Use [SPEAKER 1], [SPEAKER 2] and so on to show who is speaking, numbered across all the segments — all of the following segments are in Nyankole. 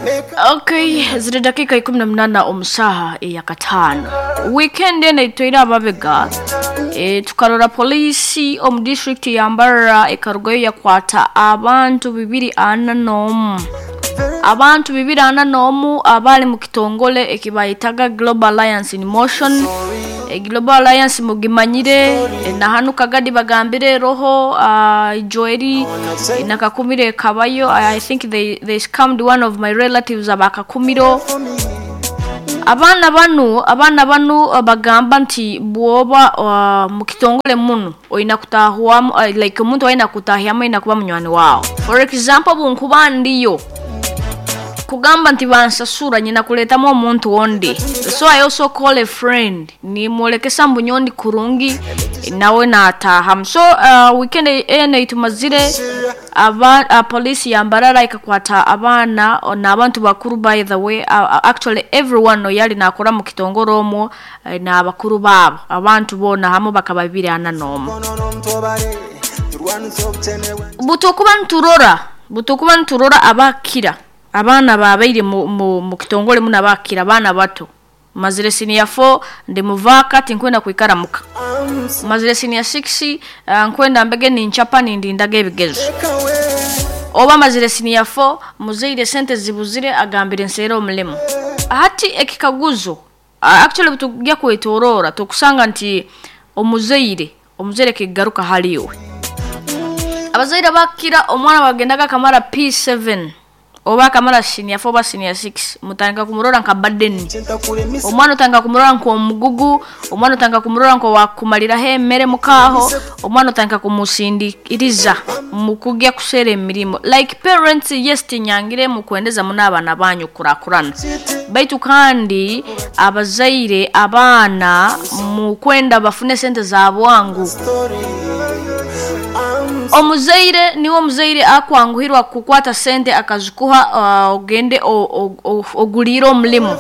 [SPEAKER 1] Okay, ziri dakiika 18 omu saaha eyakataano. Weekend eno eitweire ababega e, tukarora poliisi omu district ya Mbarara ekarugayo yakwata abantu 241. Abantu 241 abali mu kitongole ekibayetaga Global Alliance in Motion. E, Global Alliance mugimanyire e, na hanu Kagadi bagambire roho uh, Joeli e, nakakumire ekabayo. I think they scammed one of my relatives abakakumiro. Abaana banu abaana banu bagamba nti bwoba uh, mu kitongole munu oina kutahwamu uh, like omuntu aina kutahyamu aina kuba munywani wawe. For example, bunkuba ndiyo kugamba nti bansasura nyina kuletamu omuntu ondi, so I also call a friend nimwolekesa mbu nyondi kurungi nawe natahamu. So weekend eno itumazire aba polisi ya Mbarara ikakwata abaana n'abantu bakuru. By the way, actually everyone yali nakora mu kitongore omwo n'abakuru baabo abantu boona hamwe bakaba 241. Butukuba niturora abakira abaana babaire mu kitongole muno, abakira abaana bato. Mazire senior 4 ndi muvaka tinkwenda kwikara muka. Mazire senior 6 nkwenda mbege ninchapa nindindaga ebigezo. Oba mazire senior 4 muzeire sente zibuzire agambire nsera omulimo. Hati ekikaguzo actually butujya kwetorora tukusanga nti omuzeire kigaruka haliwe. Abazaire bakira omwana bagendaga kamara P7 oba kamara senior 4 oba senior 6 mutanga kumurora nka burden. Omwana utanga kumurora nko omugugu, omwana utanga kumurora nko wakumalira emere mukaho, omwana utanga kumusindikiriza mukugya kusera emirimo. Like parents, yes tinyangire mukwendeza muna abana banyu kurakurana, baitu kandi abazaire abaana mukwenda bafune sente za bwangu. Omuzaire niwo omuzaire akwanguhirwa kukwata sente akazikuha ogende ogulire omulimo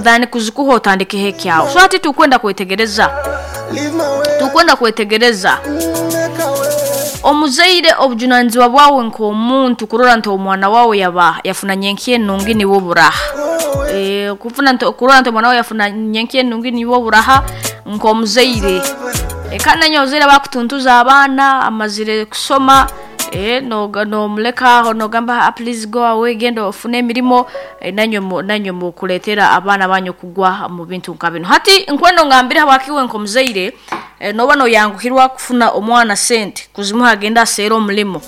[SPEAKER 1] than kuzikuha otandike hekyawo. So ati tukwenda kwetegereza omuzaire obujunanizibwa bwawe nk'omuntu kurora nti omwana wawe yaba yafuna nyenki enungi niwo buraha. Kufuna nti kurora nti omwana wawe yafuna nyenki enungi niwo buraha nk'omuzaire. Kandi nanyo omuzaire bakutuntuza abaana amazire kusoma nomuleka aho nogamba please go away genda ofune emirimo nanyo mukuletera abaana banyu kugwa mu bintu nka bino. Hati nkwendo ngambire habakiwe nk'omuzaire noba noyanguhirwa kufuna omwana sente kuzimuha agenda asera omulimo,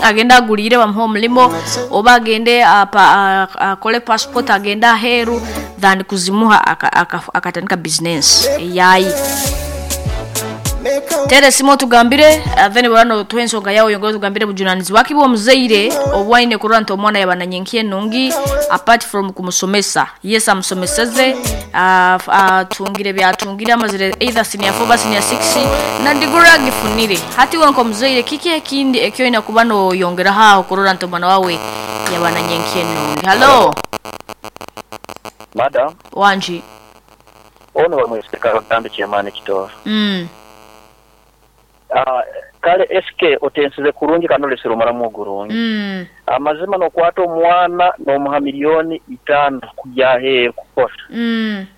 [SPEAKER 1] agenda agulire bamuha omulimo oba agende akole passport agenda aheru than kuzimuha akatandika business yayi. Tere simu tugambire then bano tuhe ensonga yawe yongere tugambire bujunanizi wakibo omuzaire obwaine kurora nti omwana yabana nyenki enungi apart from kumusomesa. Yes amusomeseze atungire byatungire amazire either senior 4 ba senior 6 na digura gifunire. Hati wenko omuzaire kiki ekindi ekyo ina kuba no yongera haho kurora nti omwana wawe yabana nyenki enungi. Hello
[SPEAKER 2] madam.
[SPEAKER 1] Wanji
[SPEAKER 2] ono bamweseka bagambe kyemani kitoro. Kale SK otensize kurungi kandi olesere omuramu ogurungi. Amazima nokwata omwana nomuha 5 milioni kujya aheeru kukora.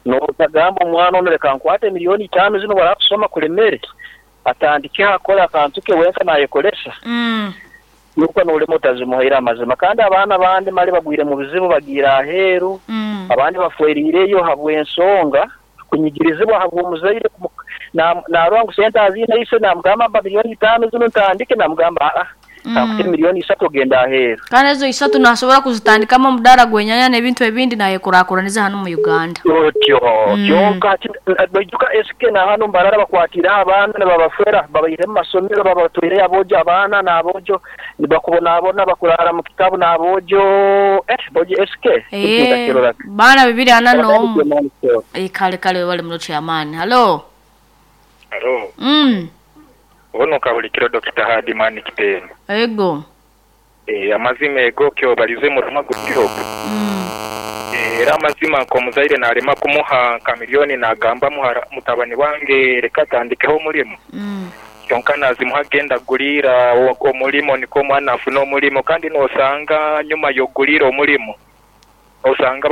[SPEAKER 2] Notagamba omwana ono leka nkwate 5 milioni zino barakusoma kulemere atandike akora akantu ke wenka nayekolesa. Nuko nolemo utazimuhaira amazima. Kandi abaana bandi mali bagwire mu bizibu bagira aheeru, abandi bafwerireyo habw'ensonga kunyigirizibwa habw'omuzaire narwa ngu sente azina ise namugamba mba 5 milioni zino ntandike, namugamba nkuti 3 milioni ogenda aheeru.
[SPEAKER 1] Kandi ezo 3 nasobora kuzitandikamu omudara gwenyanya n'ebintu ebindi naye kurakuraniza hano mu Uganda.
[SPEAKER 2] Otyo kyonka baijuka SK na hano Mbarara bakwatira abaana nibabafera babaire mu masomero babatwire abojo abaana n'abojo nibakubonabona bakurara mu kitabu n'abojo bojo SK.
[SPEAKER 1] Baana 241. Kale kale bali muno chairman. Hello.
[SPEAKER 3] Hello. Ono kabulikiro Dr. Hadimani Kitendo.
[SPEAKER 1] Ego.
[SPEAKER 3] Amazima ego kyo balize mu rumago kyo. Era amazima nko muzaire nalema kumuha nka milioni nagamba muhara mutabani wange reka tandikeho omulimo. Kyonka nazimuha genda gulira omulimo niko omwana afuna omulimo kandi nosanga nyuma yogulira omulimo. Osanga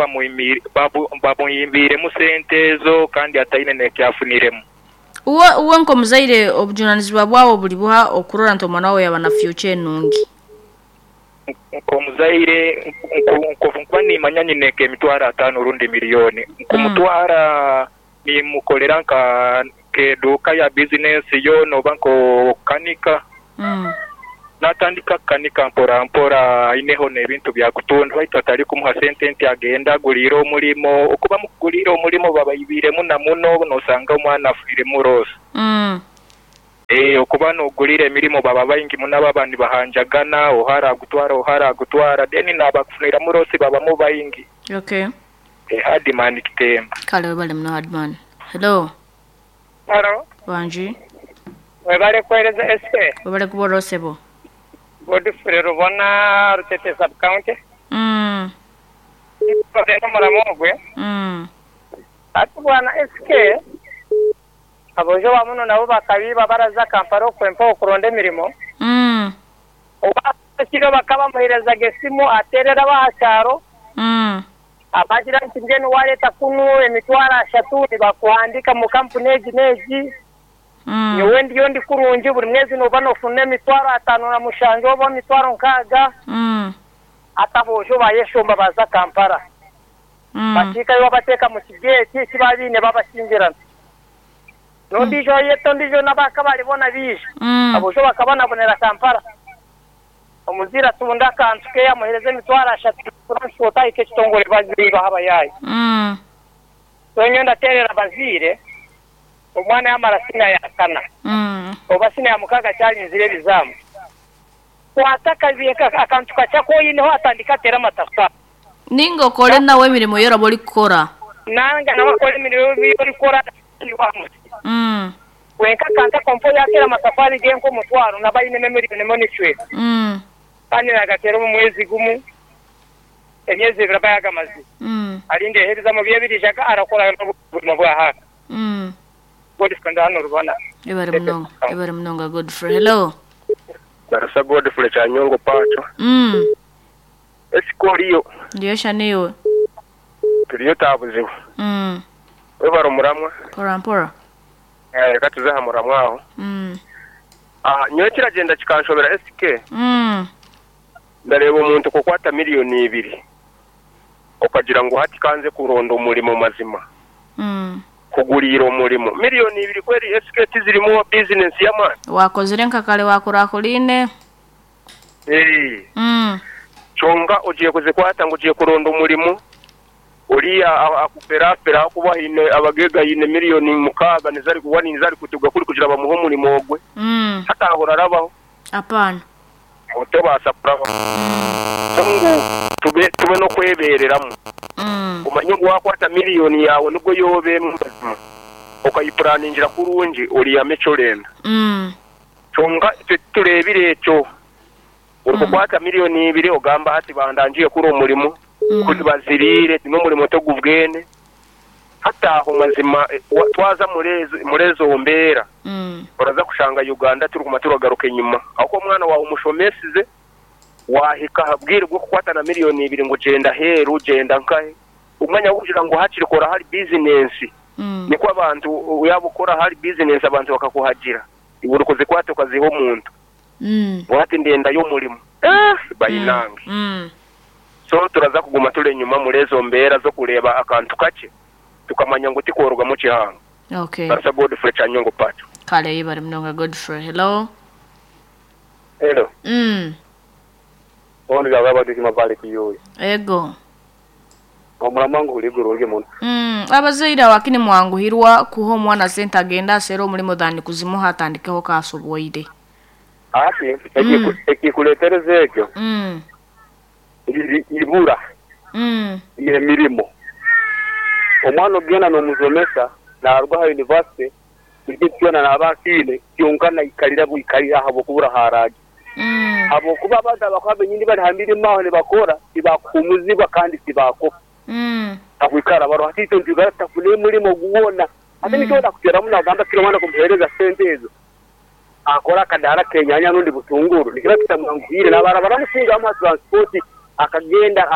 [SPEAKER 3] bamwimbiiremu sente ezo kandi ataine n'ekyafuniremu.
[SPEAKER 1] Uwe uwe nk'omuzaire obujunanizibwa bwawe buri buha okurora nti omwana wawe yaba na future enungi?
[SPEAKER 3] Nk'omuzaire nkuba nimanya nyine nk'emitwaro ataano rundi miliyooni, nkumutwara nimukolera nk'eduuka ya bizinensi yoona oba nk'okukanika. Naatandika kukanika mpora mpora aineho n'ebintu bya kutunda baitu atari kumuha sente nti agende aguriire omurimo. Okuba mukuguriire omurimo babaibiiremu na muno noosanga omwana afiiremu loosi. Ee, okuba nooguriira emirimo baba baingi muno ababa nibahanjagana, oha araagutwara oha araagutwara then naabakufuniramu loosi babamu baingi.
[SPEAKER 1] Okay.
[SPEAKER 3] Ee, Hardman Kitemba.
[SPEAKER 1] Kale webale muno Hardman. Hello.
[SPEAKER 4] Halo.
[SPEAKER 1] Wangi.
[SPEAKER 4] Webale kuwereza SK.
[SPEAKER 1] Webale kuba oroho sebo.
[SPEAKER 4] Godfrey Rubona, Rutete Sub County. Nkoze omuramo ogwe. Hati bwana SK, aboojo ba muno nabo bakabiiba baraza Kampala okwo empewo kuronda emirimo. Obu ekiro bakaba bamuherezaga esimu aterera ab'aha kyaro. Abagira nti mbwenu wareeta kunu emitwaro ashatu nibakuhandiika omu kampuni egi n'egi. Nyowe ndiyo ndi kurungi buri mwezi nooba noofuna emitwaro ataano na mushanju oba emitwaro nkaaga. Hati aboojo bayeshomba baaza Kampala. Bakiikayo babateeka mu kigeeti eki baaba baine babakingirana. N'ondiijo ayeta ondiijo n'abaakabari boona baija. Aboojo bakabanabonera Kampala. Omuzaire atunda akantu ke amuheereza emitwaro ashatu transport ahika ekitongore baziibaho abayaayi. So nyowe ndateerera abazaire omwana yamara siniya ya kana oba siniya ya mukaaga akyarinzire ebizaamu kwata akantu kakye aku oineho atandike ateere amatafaari.
[SPEAKER 1] Ninga okore nawe emirimo ei oraba orikukora.
[SPEAKER 4] Nanga nawe akore emirimo ei orikukora Wenka akantu ako mpa yaateera amatafaari ge nk'omutwaro naba ainemu emiliyoni emwe n'ekicweka. Kandi naagateera omu mwezi gumwe, emyezi ebiri aba yaagamazire. Arindireho ebizamu bye ebiriijaga arakora n'obuzima bwa haaka. Godfrey ndi hanu Rubona.
[SPEAKER 1] Ebare munonga, ebare munonga Godfrey. Hello.
[SPEAKER 5] Barasa Godfrey Kyanyongo Pacho. Esika oriyo?
[SPEAKER 1] Ndiyo sha naiwe?
[SPEAKER 5] Turiyo taabuzibu. Webare omuramwa.
[SPEAKER 1] Mpora mpora.
[SPEAKER 5] Reka tuze aha muramwa aho. Nyowe kiragyenda kikanshobera SK. Ndareeba omuntu kukwata miriyoni ibiri okagira ngu hati kanze kuronda omurimo mazima kuguriira omurimo. Miriyoni ibiri kweri SK tizirimu bizinesi y'amaani?
[SPEAKER 1] Wakozire nka kare wakurakuraine.
[SPEAKER 5] Kyonka ogiye kuzikwata ngu ogiye kuronda omurimo, oriya akuferafera ahakuba haine abagaiga haine miriyoni mukaaga nizo arikuba nizo arikutuga kuri kugira bamuhe omurimo ogwe. Hati aho orarabaho?
[SPEAKER 1] Apaana.
[SPEAKER 5] Aho tobaasa kurabaho. So ngu tube tube n'okwebeereramu. Omanye ngu waakwata miriyoni yaawe nibwo yooba emwe mazima, okayipuraningira kurungi orihamu eki orenda. Kyonka itwe titureebire ekyo. Orikukwata miriyoni ibiri ogamba hati bandangiire kuri omurimo, kuri baziriire n'omurimo togubwene. Hati aho mazima twaza muri ezo mbeera oraza kushanga Uganda turikuguma turagaruka enyima ahabw'okuba omwana waawe omushomesize waahika aha bwire bw'okukwata na miriyoni ibiri ngu gyenda aheeru gyenda nkahe omwanya gw'okugira ngu hakiri kora ahari bizinensi nikwo abantu yaaba okora ahari bizinensi abantu bakakuhagira iwe orikuzikwata okaziha omuntu. Ngu hati ndendayo omurimo. Eeh bainange. So turaza kuguma turi enyima omuri ezo mbeera z'okureeba akantu kakye tukamanya ngu tikworugamu kihango.
[SPEAKER 1] Okay.
[SPEAKER 5] Barasa Godfrey Kyanyongo Pacho.
[SPEAKER 1] Kale yebare munonga Godfrey. Hello.
[SPEAKER 6] Hello. Ondi gaba Dizima Valley Kiyooyi.
[SPEAKER 1] Ego.
[SPEAKER 6] Omuramwa nguhuriire gurungi muno.
[SPEAKER 1] Abazaire awakini mwanguhirwa kuha omwana sente agende asere omurimo than kuzimuha atandikeho kasobwoire.
[SPEAKER 6] Hati ekikuretereza ekyo riri ibura rye mirimo. Omwana ogenda nomusomesa naruga aha university buri kintu kyona naba akiine kyonka naikarira bwikarira ahabwokubura ahu araaje. Habwokuba abantu abakuba benyini bari aha mirimo aho nibakora tibakuhumuzibwa kandi tibakopa. Akwikara baroho hati itwe nitwikara tutafuna emurimo gwona. Hati nikyo ndakuteeramu nagamba kiro omwana kumuheereza sente ezo akore akadaara k'enyaanya rundi butunguru nikiba kitamwanguhiire. Naaba baramusinga bamuha transport akagenda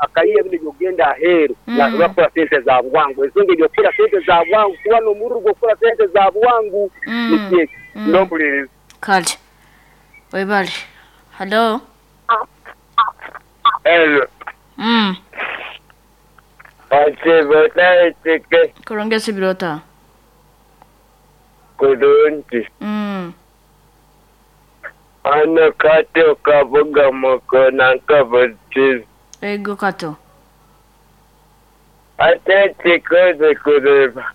[SPEAKER 6] Akaiha binu eby'okugenda aheeru naasobora kukora sente za bwangu. Ensonga eby'okukora sente za bwangu kuba n'omururu gw'okukora sente za bwangu nikyo ekyo. N'ompuliriza.
[SPEAKER 1] Kale. Webale. Hallo.
[SPEAKER 7] Hello. Osiiba ota SK?
[SPEAKER 1] Kurungi osibire ota?
[SPEAKER 7] Kurungi. Hano Kato Kabuga Mukoona Nkabutizi.
[SPEAKER 1] Ego Kato.
[SPEAKER 7] Hati ekikoze kureeba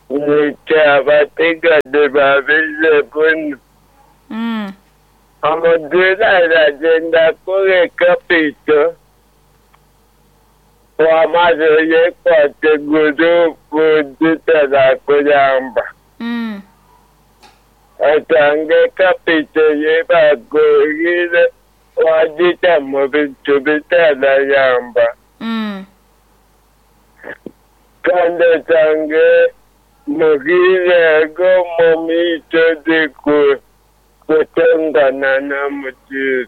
[SPEAKER 7] nikyo abatsigazi babize kunu. Omuzaire aragyenda kukora kapito wamara oyekwate guruupu zitarakuyamba. Osange kapito ei bakuhaire waagita omu bintu bitarayamba. Kandi osange mugiire omu maisho kutongana n'omuzaire.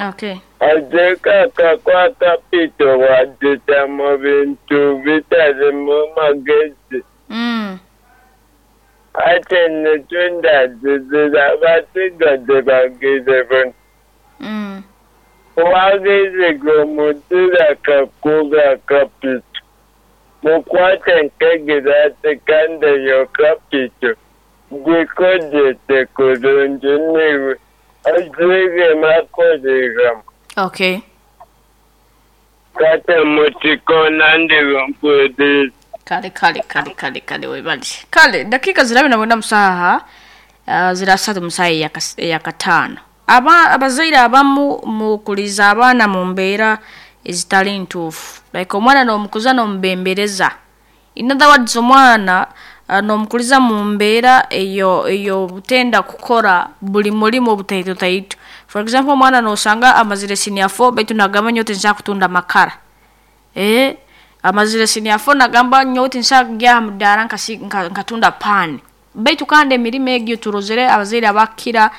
[SPEAKER 1] Okay.
[SPEAKER 7] Aje kwa kapito wagita mu bintu bitarimu magezi. Hati nikyo ndagizire abatsigazi bagiire buni. Wagiziga omuzaire akakuha kapito, mukwate nk'egiraasi kandi eyo kapito gikozese kurungi niiwe oziremu akoreeramu.
[SPEAKER 1] Okay.
[SPEAKER 7] Kate mukikoona ndiwe mpuriire.
[SPEAKER 1] Kale kale kale kale kale webale. Kale dakika zirabe na mwenda musaha zirasatu musaha eyakataano. Aba abazaire abamu mukuliza abaana mu mbeera ezitali ntuufu. Like omwana n'omukuza n'omubembereza. In other words omwana n'omukuliza mu mbeera eyo ey'obutenda kukora buli murimo obutaito taito. For example omwana n'osanga amazire senior 4 baitu nagamba nyowe tinsobola kutunda makara. Amazire senior 4 nagamba nyowe tinsobola kugya aha mudaara nkatunda paani. Baitu kandi emirimo egyo turozere abazaire abakira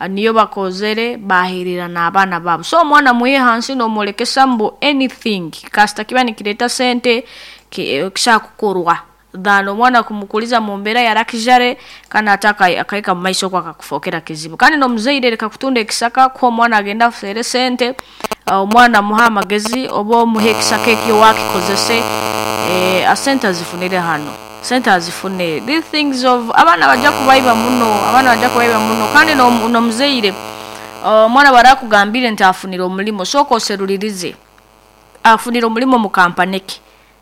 [SPEAKER 1] niyo bakozere baherera n'abaana baabo. So omwana mwihe hansi n'omworekesa mbu anything kasita kiba nikireeta sente kisobola kukorwa. Than omwana kumukuliza mu mbeera ya luxury kandi ate akahika mu maiso okwo akakufookera kizibu. Kandi n'omuzaire leka kutunda ekisaka kuha omwana agenda afeere sente, omwana muhe amagezi oba omuhe ekisaka ekyo wakikozese sente azifunire hano. Sente azifune. These things of abaana bajja kubaiba muno, abaana bajja kubaiba muno kandi n'omuzaire omwana barakugambire nti afunire omurimo sooka oseruririze. Afunire omurimo mu kampani ki.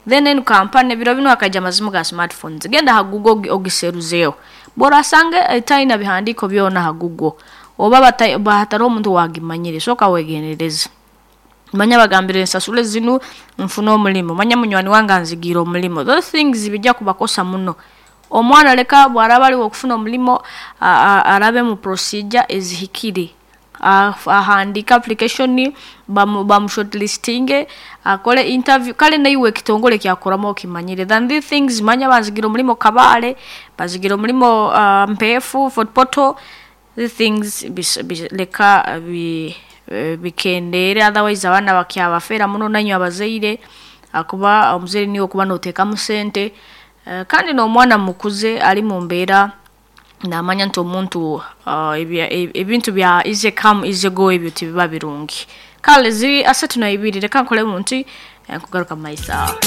[SPEAKER 1] Then enu kampani ebiro binu hakaija amazimu ga smartphones. Genda aha Google ogiseruzeeho. Bw'orasanga etaine bihandiiko byona aha Google oba hatariho omuntu owagimanyire sooka wegendereze. Manya bagambire nsasule zinu nfune omurimo, manya munywani wange anzigiire omurimo. Those things bijja kubakosa muno. Omwana leka bw'araba ari ow'okufuna omurimo arabe mu procedure ezihikire. Ahandiike application bamushortlistinge akore interview kale naiwe ekitongore ekyakukoramu okimanyire. Than these things manya banzigiire omurimo Kabale, banzigiire omurimo Mpeefu, Fort Portal, these things leka bikendeere otherwise abaana bakyabafeera muno nainywe abazaire ahakuba omuzaire niiwe okuba nooteekamu sente kandi n'omwana mukuze ari mu mbeera namanya nti omuntu ebintu bya easy come easy go ebyo tibiba birungi. Kale ziri asatu na ibiri leka nkoremu nti nkugaruka mu maiso aho.